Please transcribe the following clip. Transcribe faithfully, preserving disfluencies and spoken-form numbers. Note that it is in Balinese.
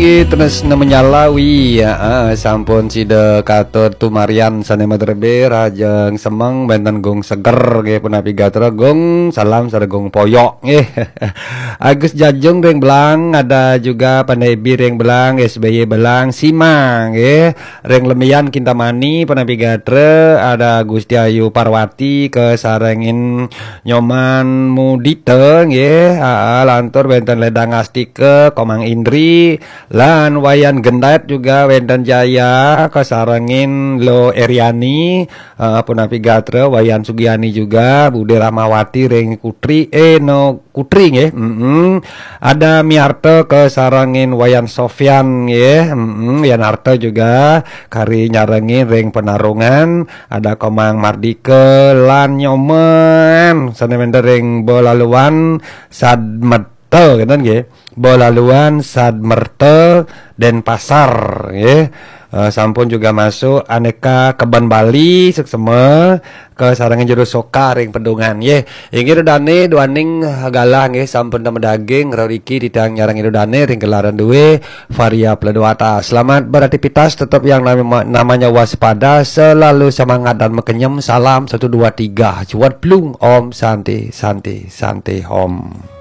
Tresna Menyalawi, ya, ah, sampun sida katur tumarian sane madrebe, rahajeng semeng, wenten gung seger, nggih, punapi gatra, gung salam, sareng gung poyok, nggih. Agus Jajung ring Belang, ada juga Pandebi ring Belang, S B Y Belang, Sima, nggih. Ring Lemian Kintamani, punapi gatra, ada Gusti Ayu Parwati, kasarengin Nyoman Mudita, nggih. Ah, ah, lantur wenten Ledang Astika, Komang Indri, lan Wayan Gendet juga wenten Jaya, kasarengin Lo Eriani, eh, punapi gatra, Wayan Sugiani juga, Bude Rahmawati ring Kutri, eh, no, Kutri, nggih. Mm-mm. Ada Miarta kasarengin Wayan Sofyan, nggih. Mm-mm. Yan Arta juga kari nyarengin ring Penarungan, ada Komang Mardika lan Nyoman sane wenten ring Balaluan Sadmerta, ngenten nggih. Balaluan Sadmerta, Denpasar, nggih. Eh, sampun juga masuk Aneka Kebon Bali, suksema, kasarengin Juru Soka ring Pedungan, nggih. Inggih Ida Dane, duaning galah, nggih, sampun madaging, reriki titiang nyarengin Ida Dane ring gelaran due, Varia Pledwata. Selamat beraktivitas, tetap yang nama-, namanya waspada, selalu semangat dan makenyem. Salam satu dua tiga, cuat plung, Om Santi, Santi, Santi, Om.